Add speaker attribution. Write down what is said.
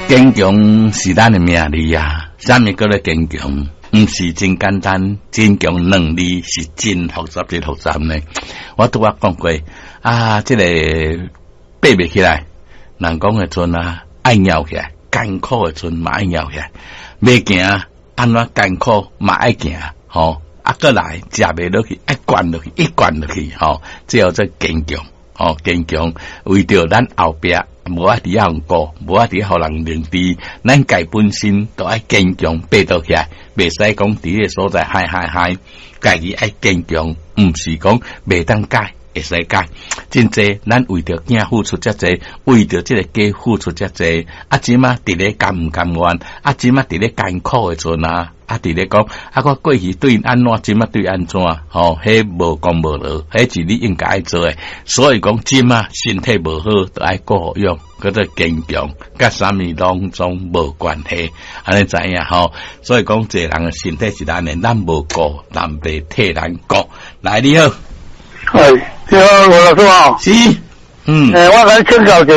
Speaker 1: 堅強是咱的命理啊！啥物叫做堅強？毋是真簡單，堅強兩字是真複雜，真複雜呢。我拄仔講過啊，這個爬袂起來，人講的陣啊，愛拗起來，艱苦的陣嘛愛拗起來，欲行按怎艱苦嘛愛行，吼啊，閣來食袂落去，愛灌落去，一灌落去，吼，這叫做堅強，吼，堅強，為著咱後壁。無愛佇遐顧，無愛佇遐予人認知，咱家本身都愛堅強，爬倒起來，袂使講佇个所在嗨嗨嗨，家己愛堅強，毋是講袂當改，會使改。真濟，咱為著囝付出遮濟，為著這個家付出遮濟，啊，這馬佇咧甘毋甘願？啊，這馬佇咧艱苦的陣啊，啊，佇咧講，啊，我過去對𪜶按怎，這馬對按怎？吼，彼無功無勞，彼是你應該愛做的。所以講，這馬身體無好，著愛顧養，叫做堅強，佮啥物攏總無關係，按呢知影吼？所以講，這個人的身體是咱的，咱無顧，人袂替咱顧。來，你好。
Speaker 2: 係，你好，吳老師好。
Speaker 1: 是，嗯。
Speaker 2: 欸，我來請教一下。